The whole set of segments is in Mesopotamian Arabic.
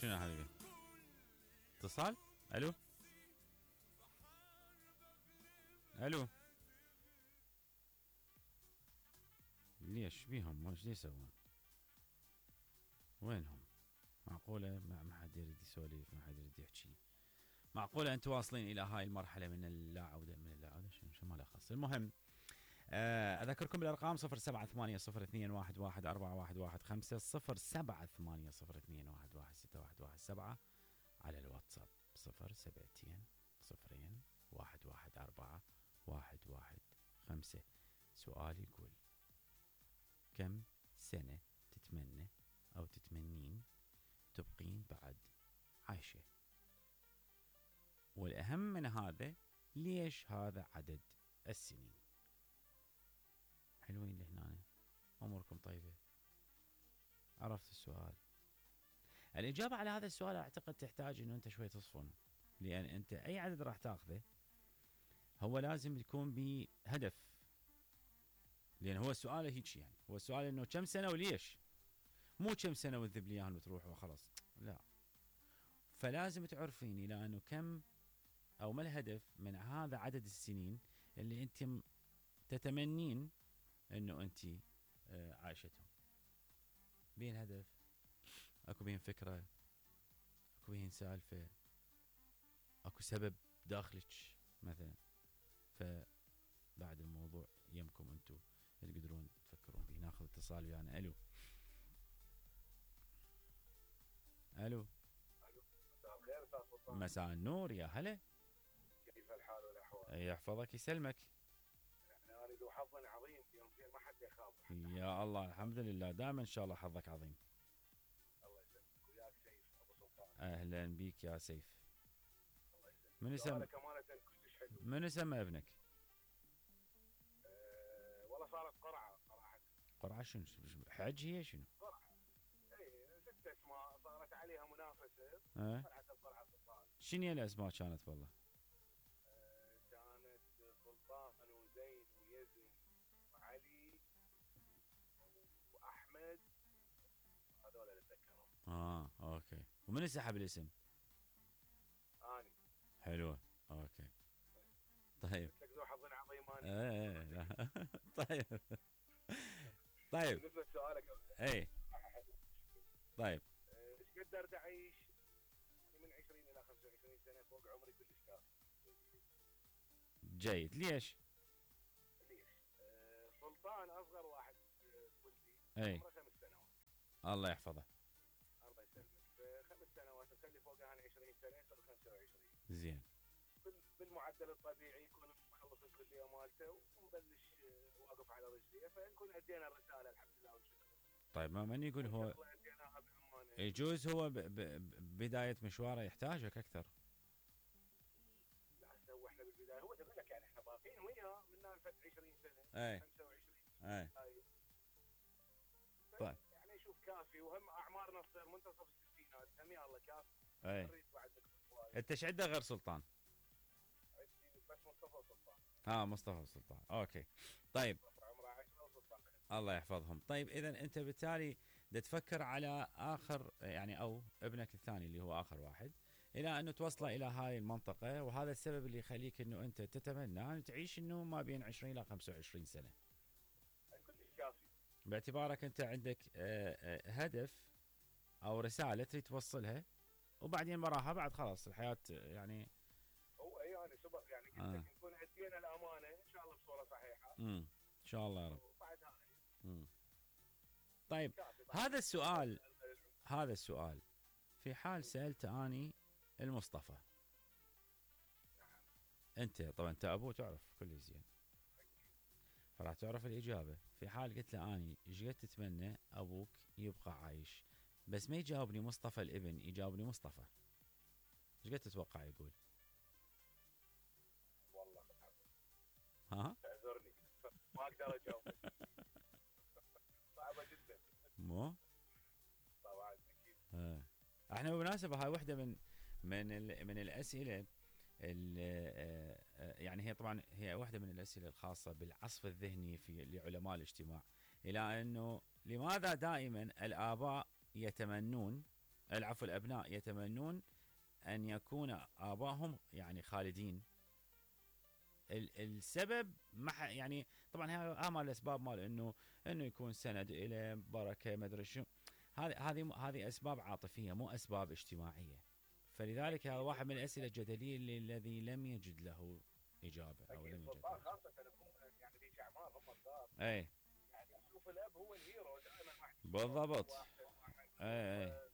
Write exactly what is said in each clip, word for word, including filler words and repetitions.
شنو يا حبيبي؟ اتصال؟ الو الو ليش بيهم؟ ايش يسوون؟ وينهم؟ معقولة ما ما حد يريد يسولف، ما حد يريد يحكي؟ معقولة انتم واصلين الى هاي المرحلة من اللا عودة من اللا عودة؟ شنو شو ما له خص. المهم آه اذكركم بالارقام صفر سبعة ثمانية صفر اثنين واحد واحد أربعة واحد واحد خمسة صفر سبعة ثمانية صفر اثنين واحد واحد ستة واحد واحد سبعة على الواتساب صفر سبعتين صفرين واحد واحد أربعة واحد واحد خمسة. سؤال يقول: كم سنة تتمنى أو تتمنين تبقين بعد عايشة؟ والأهم من هذا، ليش هذا عدد السنين؟ حلوين لهنا، أموركم طيبة؟ عرفت السؤال؟ الإجابة على هذا السؤال أعتقد تحتاج أنه أنت شوي تصفن، لأن أنت أي عدد راح تاخذه هو لازم يكون بهدف، لأن هو السؤال هيك، يعني هو السؤال أنه كم سنة وليش، مو كم سنة وتذب لي اياهن وتروح وخلاص، لا. فلازم تعرفين إلى أنه كم أو ما الهدف من هذا عدد السنين اللي أنت تتمنين أنه أنت عايشتهم. بين هدف، أكو بين فكرة، أكو بين سالفة، أكو سبب داخلك مثلا. فبعد الموضوع يمكم أنتم اللي تقدرون تفكرون به. ناخذ اتصال ويانا. ألو ألو مساء الخير استاذ سلطان. مساء النور، يا هلا. كيف الحال والاحوال؟ يحفظك يسلمك. انا اريد حظ عظيم يوم زين ما حد يخاف. يا الله، الحمد لله، دائما ان شاء الله حظك عظيم. الله يسلمك. وياك سيف ابو سلطان. اهلا بيك يا سيف. الله يسلمك. من اسم كمالة كلش حلو. من اسم ابنك؟ أه والله صارت قرعه صراحه. قرعه شنو؟ حج هي شنو؟ قرعه اي ست اسماء صارت عليها منافسه. أه؟ طلعت القرعه سلطان. شنو الاسماء كانت والله؟ أه كانت سلطان وزين ويزن وعلي واحمد، هذول اللي اتذكرهم. اه اوكي. ومن سحب الاسم؟ اني. حلوه، اوكي. طيب. قلت لك ذو حظ عظيم اني. ايه لا. طيب طيب. بالنسبه لسؤالك اي طيب، ايش قدر تعيش من عشرين الى خمسة وعشرين سنه فوق عمري كلش كافي. جيد. ليش؟ ليش؟ أه سلطان اصغر واحد ولدي اي عمره خمس سنوات. الله يحفظه. الله يسلمك. فخمس سنوات نخلي فوقها عشرين سنه يصير خمسة وعشرين. زين. بالمعدل الطبيعي يكون مخلص الكليه مالته ومبلش واقف على رجليه، فنكون ادينا الرساله الحمد لله والشكر. طيب ما من يقول هو يجوز هو ب ب بدايه مشواره يحتاجك اكثر. لا هسه احنا بالبدايه هو يقول لك يعني احنا باقيين وياه من نالفت عشرين سنه. اي خمسة وعشرين. اي طيب يعني شوف كافي، وهم اعمارنا تصير منتصف الستينات، هم يا الله كافي. اي انت ايش عندك غير سلطان؟ عندي بس مصطفى وسلطان. اه مصطفى وسلطان، اوكي. طيب عمره عشرة وسلطان. الله يحفظهم. طيب اذا انت بالتالي دا تفكر على اخر يعني او ابنك الثاني اللي هو اخر واحد الى انه توصله الى هاي المنطقه، وهذا السبب اللي يخليك انه انت تتمنى ان تعيش انه ما بين عشرين الى خمسة وعشرين سنه. كلش كافي. باعتبارك انت عندك هدف او رساله تريد توصلها، وبعدين وراها بعد خلاص الحياه يعني. هو اي يعني سبق يعني قلت آه. لك نكون ادينا الامانه ان شاء الله بصوره صحيحه. امم ان شاء الله يا رب. وبعدها امم طيب هذا السؤال هذا السؤال في حال سالت اني المصطفى. نعم. انت طبعا انت ابوه تعرف كل زين، فراح تعرف الاجابه. في حال قلت له اني ايش قد تتمنى ابوك يبقى عايش، بس ما يجاوبني مصطفى الابن، يجاوبني مصطفى، ايش قد تتوقع يقول؟ والله ها تعذرني ما اقدر اجاوب. صعبه جدا. مو طبعا اكيد. اه. احنا بالمناسبه هاي واحده من من من الاسئله يعني هي طبعا هي واحده من الاسئله الخاصه بالعصف الذهني في لعلماء الاجتماع، الى انه لماذا دائما الاباء يتمنون العفو، الابناء يتمنون ان يكون ابائهم يعني خالدين. ال- السبب ما ح- يعني طبعا هذا مال الاسباب، مال انه انه يكون سند الى بركه ما ادري شو. هذه هذه هذه اسباب عاطفيه مو اسباب اجتماعيه. فلذلك هذا واحد من الاسئله الجدليه اللي الذي لم يجد له اجابه او لم اكيد يجد بالضبط، له إجابة. خاصه هم يعني ذيك اعمار هم صغار. اي يعني اشوف الاب هو الهيرو دائما، واحد بالضبط. واحد واحد اي اي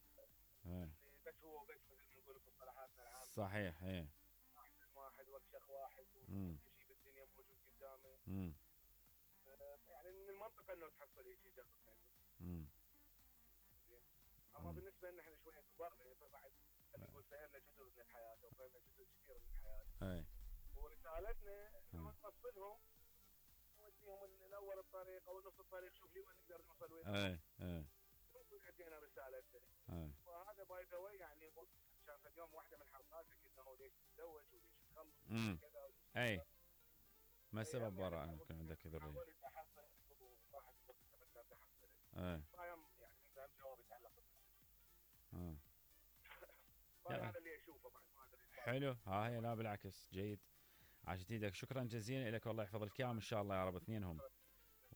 اي بس هو بس مثل ما نقول بمصطلحاتنا العامه، صحيح. اي احسن واحد وكشخ واحد امم وكل شيء بالدنيا موجود قدامه. امم يعني من المنطق انه تحصل هيك شغله عنده. امم زين. اما بالنسبه لنا احنا شويه كبرنا، فبعد خلينا نقول سهرنا جزء من الحياه او فهمنا جزء كثير من الحياه. اي ورسالتنا انه نوصلهم، نوديهم الاول الطريق او نص الطريق، شوف لي وين نقدر نوصل وين. اي اي نكون ادينا رسالتنا. اي وهذا باي ذا واي يعني شاف اليوم واحده من حلقاتك انه ليش تتزوج وليش تخلص امم وكذا وليش اي كذا. ما سبب يعني وراء ان يكون عندك ذريه؟ حاولت احصل وراحت الوقت تمنى تحصلت. اي فاهم يعني من اهم جواب يتعلق اه فهذا اللي اشوفه بعد ما ادري. حلو. ها هي، لا بالعكس جيد. عاشت ايدك، شكرا جزيلا لك، والله يحفظ الكام ان شاء الله يا رب اثنينهم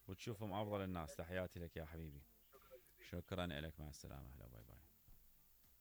وتشوفهم افضل الناس. تحياتي لك يا حبيبي. شكرا جزيلا. شكرا لك، مع السلامه، هلا باي.